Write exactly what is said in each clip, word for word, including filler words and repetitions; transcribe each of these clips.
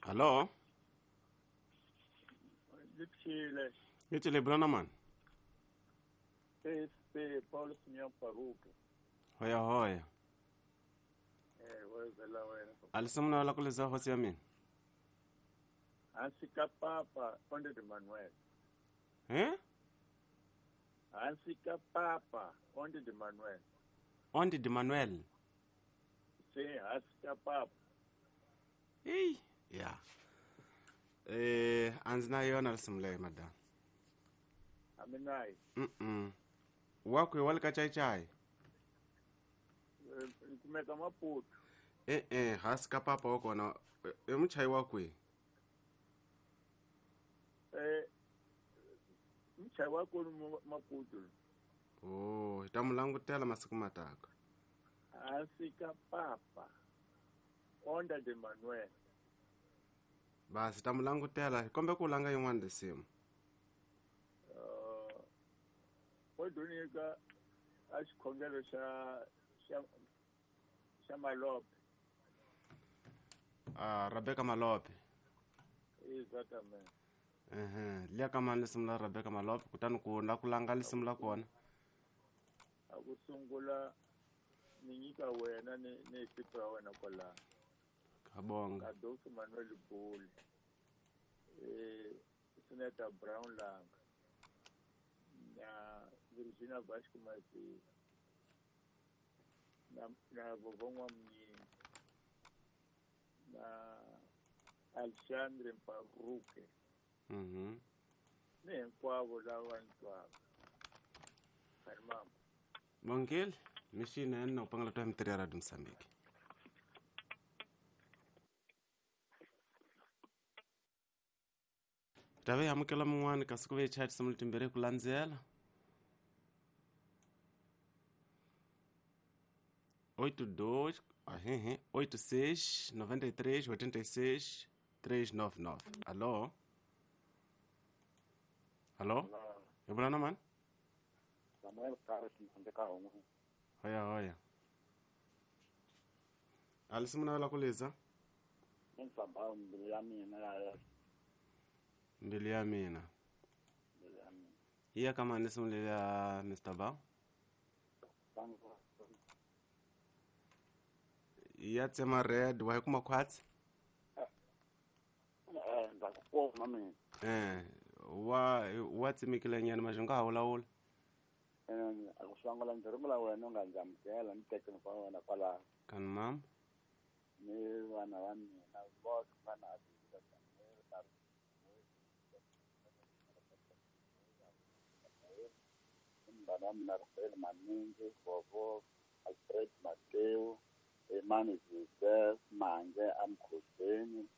Hello. Ngithile. Ngithile brana man. S P Paul Simeon Paruke. Hoya hoya. Eh, wezela wena. Alisamuna la kuleza hosi ya mina. Hansi ka papa Onde de Manuel. Eh? Hansi ka papa Onde de Manuel. Onde de Manuel. Sim, hansi ka papa. Ei, ya. Eh, anzina yona lisimule madam. Aminai. Mm. Wakwe walika chai chai. Kumeka Maputo. Eh eh, hansi ka papa wakona. E muchai wakwe. Eh, muchai wakwe Maputo. Oh, tamulangutela masiku mataka. Hansi ka papa Onda de Manuel. Basi tamulangutela kombe ku langa yin'wana lisimu. Uh, Odunika a xikhongelo xa xa xa Malope. Ah, Rebecca Malope. Exactamente. Eh, liya ka mani lisimu la Rebecca Malope kutani ku la ku langa lisimu la kona. A ku sungula ni nyika wena ni ni ekipa ya wena kwalano. Kabonga. Adolfo Manuel Buli. Eh, Senator Brown Lang. Na Virginia Vasco Mazi. Na na Vovongwa Mnyini. Na Alexandre Mparuke. Mhm. Ni hinkwavo lava ni twaka. Mama. Bongile, mishina ena upangala twa mtiri ya Radio Msambiki. Tave amukela mun'wana kasi ku ve chat simu timbirhi ku landzela. oito dois, ahehe, oito seis, noventa e três, oitenta e seis, três nove nove. Alô? Alô? Yabulana man? Samuel Carlos Mtandeka Hongo. Hoya hoya. Alisimuna la kuleza? Nsamba mbili ya mina ya mbili ya mina. Mbili ya mina. Iya kama nisimule ya Mister Ba. Iya tsema red wa kuma kwatsi? Eh, ndakukoma mina. Eh, wa wa tsimikile nyana majunga hawulawula. Eh, akusangala ndirumula wena unganjamukela ni tekeni kwa wena kwala. Kan mam? Ni vana va mina vose vana vana mina Rafael Maningi, Vovo, Alfred Mateo, Emmanuel Joseph, Mange Amkhoseni,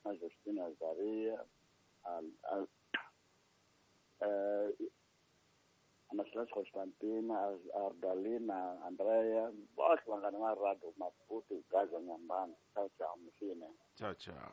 na Justina Zaria, al al eh Anaslas Constantina, Ardalina, Andrea, both vanghana va Radio Maputo, Gaza Nyambana. Ciao ciao, mfine. Ciao ciao.